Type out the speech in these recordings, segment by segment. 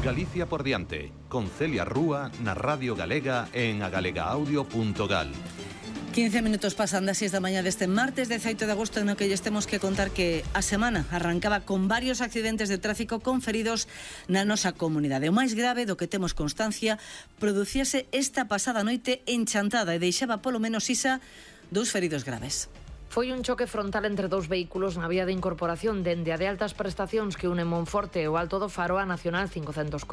Galicia por diante, con Celia Rúa na Radio Galega e en agalegaaudio.gal. 15 minutos pasan das 6 da mañá deste martes 18 de agosto, no que lles temos que contar que a semana arrancaba con varios accidentes de tráfico con feridos na nosa comunidade. O máis grave do que temos constancia producíase esta pasada noite en Chantada e deixaba polo menos isa 2 feridos graves. Foi un choque frontal entre dous vehículos na vía de incorporación dende a de altas prestacións que une Monforte e o Alto do Faro a Nacional 540.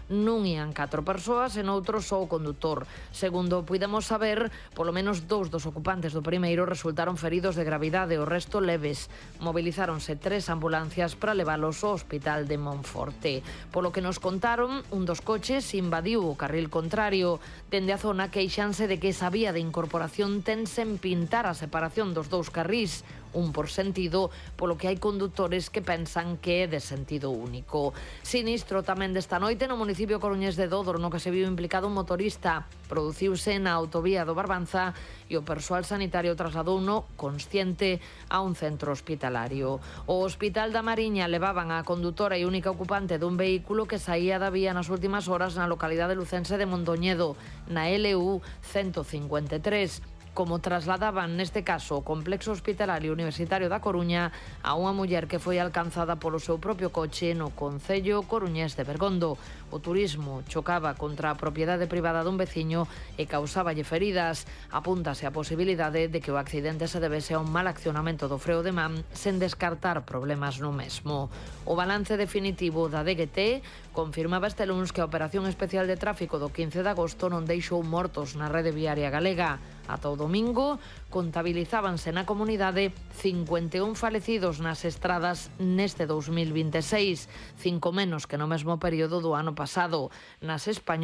Nun ían 4 persoas e noutro só o condutor. Segundo puidemos saber, polo menos 2 dos ocupantes do primeiro resultaron feridos de gravidade, o resto leves. Movilizáronse 3 ambulancias para leválos ao hospital de Monforte. Polo que nos contaron, un dos coches invadiu o carril contrario. Dende a zona queixanse de que esa vía de incorporación ten sen pintar a separación dos dous carrís, un por sentido, polo que hai condutores que pensan que é de sentido único. Sinistro tamén desta noite no municipio coruñés de Dodro, no que se viu implicado un motorista. Produciuse na autovía do Barbanza e o persoal sanitario trasladouno consciente a un centro hospitalario. O Hospital da Mariña levaban a condutora e única ocupante dun vehículo que saía da vía nas últimas horas na localidade lucense de Mondoñedo, na LU 153. Como trasladaban neste caso o complexo hospitalario universitario da Coruña a unha muller que foi alcanzada polo seu propio coche no concello coruñés de Bergondo. O turismo chocaba contra a propiedade privada dun veciño e causáballe feridas. Apúntase a posibilidade de que o accidente se debese a un mal accionamento do freo de man sen descartar problemas no mesmo. O balance definitivo da DGT confirmaba este luns que a Operación Especial de Tráfico do 15 de agosto non deixou mortos na rede viaria galega. Ata o domingo contabilizábanse na comunidade 51 falecidos nas estradas neste 2026, 5 menos que no mesmo período do ano pasado. Nas españolas